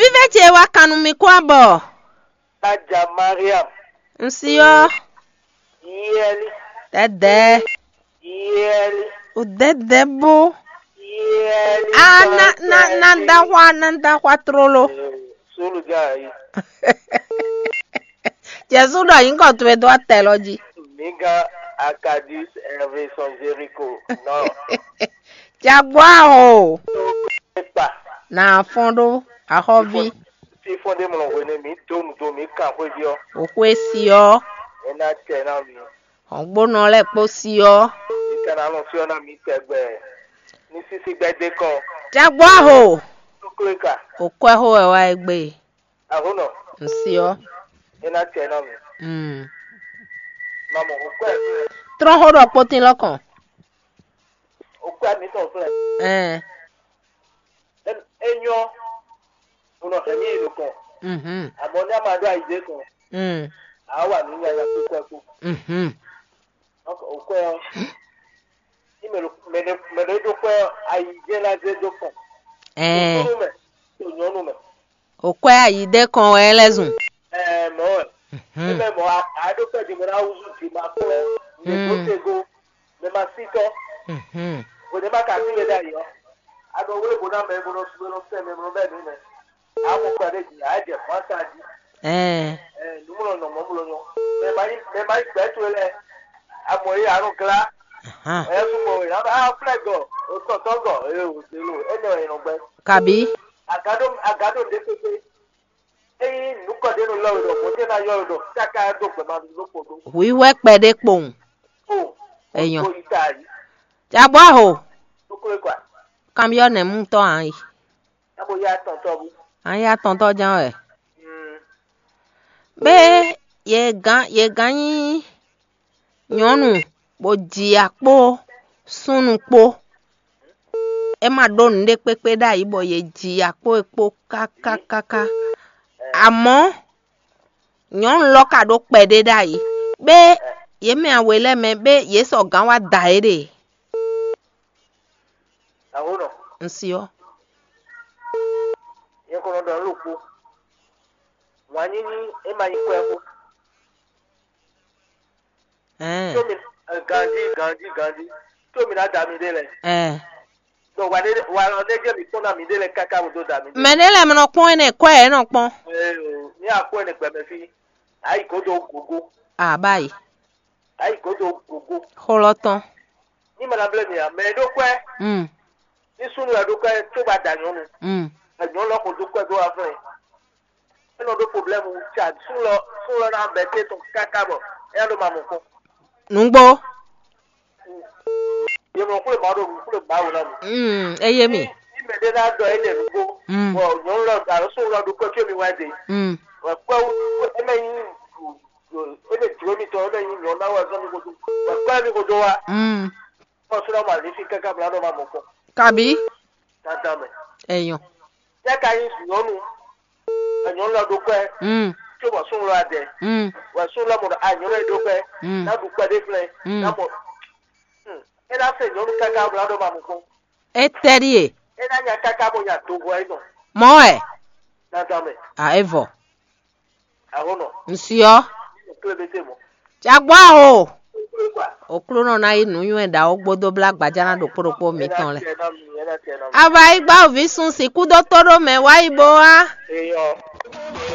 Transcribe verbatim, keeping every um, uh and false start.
Vívɛ́ ce wá kan nú mi kó abɔ. Aja Mariam. Un si ɔ́. Yɛli. Dɛdɛ. Yɛli. O dɛdɛ bó. Yɛli. A na na na da xwa na da xwa tlolo. Sulu ja yi. Jesu ɖɔ nyǐkɔ towe dó atɛ lɔ jí. Mi gán Akadis Hervé sɔn Jericho. Non. Jagbɔ aho. Ekpa. Na fɔn ɖó axɔ́ví. Fífɔ́n ɖé mlɔ hwenu mi dó nu dó mi kan xwé jí ɔ́. Òxwé si ɔ́. É ná tɛ ná mi. Hɔngbónɔ lɛ́ɛ kpó si ɔ́. Mi ka ná nɔ fyɔ́ ná mi tɛgbɛ. Ní sísí gbɛdé kɔ. Jagbɔ aho. Tóklé ka. Òkwɛ́ xó wɛ wá é gbé. Aho nɔ. Un si ɔ́. É ná tɛ ná mi. Mm. Mamɔ òkwɛ́. Trɔ́n xó ɖɔ kpótín lɔ́kɔn. Òkwɛ́ mi tɔn flɛ. Ɛn. É nyɔ́, un nɔ hɛn mì yi nukɔn. Mhm. Àmọ́ ní a ma ɖó ayǐjɛ kan, Mm. A wá wà nǔ nyanya kpó kwɛ kpó. Mhm. Donc, òkwɛ́ ɔ́, ní mɛ ɖo mɛ ɖe mɛ ɖe ɖó kwɛ́ ɔ́, ayǐjɛ ná zé dó kɔn. Ɛɛ. Nú mɛ, to nyɔ́nu mɛ. Òkwɛ́ ayǐdɛ kɔn wɛ é lɛ́ zun. Ɛɛ, mɔ̌ wɛ. Mhm. Ní mɛ mɔ̌, a a ɖó kwɛ́ ɖi mɛ ná wúzú jǐ ma kplɔ́, mɛ dó Mm. tego, mɛ ma sí tɔ́. Mhm. Hwěɖé ma ka sí we ɖ'ayǐ ɔ́, a ɖɔ wlé bo ná mɛ bo nɔ sú we nɔ sɛn mɛ bo nɔ bɛ́ nǔ mɛ. A mɔ kɔ ɖé jí, a jɛ fɔ́n ata jí. Ɛɛ. Ɛ, nǔmlɔ nɔ mɔ mlɔ nyɔ. Mɛ ma nyí mɛ ma nyí gbɛ̌ towe lɛ́ɛ. A mɔ yě a nɔ glá. Ahan. Ɛ sukpɔ wɛ. A bɛ a flɛ gɔ, o tɔtɔ gɔ, eye o zelo, e nɔ yɛ nɔ gbɛ. Kabi. Agado agado ɖe pépé. Eyi nukɔ ɖe nɔ yɔ we ɖɔ, mo tɛ na yɔ we ɖɔ, kaka do gbɛ ma ɖo kpo ɖo. Hwiwɛ kpɛɖé kpowun. O. Eyɔn. O yi ta yi. Jagbɔ aho. Tuklo kwa. Kambiɔ nɛ mu tɔ an yi. Abo ya tɔn tɔ bu. An ya tɔn tɔ jan wɛ. Mm. Bé ye gán ye gán nyí nyɔ̌nu bó ji ya kpó súnnu kpó. É ma ɖó nǔɖé kpékpé ɖ'ayǐ bɔ yě ji ya kpó e kpó káká káká. Amɔ̌ nyɔ̌nu lɔ ka ɖó kpɛɖé ɖ'ayǐ. Bé yě mɛ awe lɛ́ɛ mɛ bé yě sɔ gǎn wá da yě ɖe. Aho nɔ. Un si ɔ́. Yɛ kɔnɔ ɖɔ ló kpó. Wǎn nyínyí é ma nyí kwɛ kpó. Ɛɛ. Tó mi eh, gandi gandi gandi. Tó mi ná da mi ɖé lɛ. Ɛɛ. Ɖo wa ɖé wa lɔ ɖé jɛ mi kpɔ́n ná mi ɖé lɛ káká bo dó da mi ɖé. Mɛ ɖé lɛ mɔ kpɔn ɛnɛ kɔ ɛ nɔ kpɔn. Ee o, ní akpɔ ɛnɛ gbɛmɛ fí. Ayi godo gogo. Abayi. Ayi godo gogo. Xɔlɔ tɔn. Ní mɛ ná blé mi a, mɛ ɖó kwɛ. Mm. Ní súnú ɛ ɖó kwɛ tó ba da nyɔnu. Mm. Ɛ nyɔnu lɔ kò dó kwɛ dó wa flɛ. Ɛ nɔ ɖó problème ca súnlɔ súnlɔ ná bɛ té tɔn káká bɔ ɛ ɖó ma mɔ kpɔn. Nǔgbó. Yemɔ kúlè ma ɖo kúlè ma wò lɔ mi. Mm, eye mi. Ní mɛ ɖé ná dɔ ɛ lɛ nǔgbó. Mm. Bɔ nyɔnu lɔ alo súnlɔ ɖó kwɛ tó mi wá dé. Mm. Wɛ kwɛ wú ɛ mɛ nyí ɛ mɛ jló mi tɔ ɛ mɛ nyí nyɔnu ná wá zɔn mi kodo. Wɛ kwɛ mi kodo wa. Mm. Kɔ súnlɔ ma lé fi káká bla ɖó ma mɔ kpɔn. Kabi. Dandan mɛ. Eyɔn. Yɛ ka nyí nyɔnu. Nyɔnu lɔ ɖó kwɛ. Mm. Tso bɔ súnlɔ adɛ. Mm. Wɛ súnlɔ mɔ a nyɔnu e ɖó kwɛ. Mm. Ná ɖu kwɛ ɖé flɛ. Mm. Ná mɔ. Hmm. É ná se nyɔnu káká bla ɖó ma mɔ kpɔn. Etɛɖie. É ná nya káká bɔ nya do hɔ é nɔ. Mɔ ɛ. Dandan mɛ. A evɔ. Aho nɔ. Nsiɔ. Klebe te mɔ. Jagbɔ aho. Klebe kwa. Oklunɔ ná yi nǔnywɛ ɖawo gbódó blá gbajá ná ɖokpó ɖokpó mǐtɔn lɛ. Ɛ na tɛ na mi, ɛ na tɛ na mi. Ava yi gbá òví sun sixú dó tó ɖó mɛ wá yi bó wá. Eyɔ.